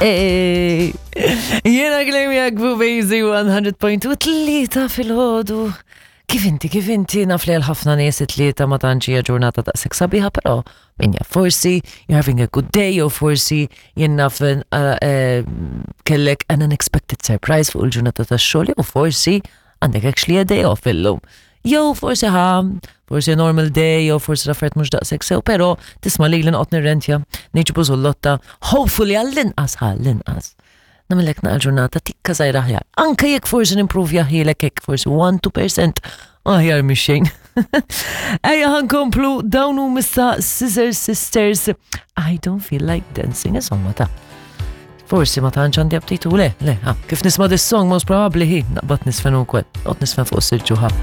Ej, Jiena Glemja Gbubejzi 100.2 tlieta fil-ħodu. Kif inti, kif inti, naf li għal ħafna nies it-tlieta ma tantx hija ġurnata daqshekk sabiħa, però min jaf forsi you're having a good day jew forsi jien naf eh, eh, kellek an unexpected surprise fuq il-ġurnata tax-xogħol jew forsi għandek actually a day off illum. Jew forsi ħa, forsi normal day, jew forsi l-affarijiet mhux daqshekk sew, però tisma' li noqgħod nirrentja, niġbu zullotta, hopefully għall-inqas għall-inqas. Nagħmellek naqra ġurnata tikka żgħira aħjar. Anke jekk forsi nimprovja ħilek hekk forsi 1-2% aħjar mix xejn. Ejja ħa nkomplu dawn hu missa Scissor Sisters. I don't feel like dancing, insomma ta' Forsi ma tantx għandi aptitu, le, le, ha, kif nisma' this song most probably hi, naqbad nisfen ukoll, noqgħod nisfen fuq is-silġu ħa.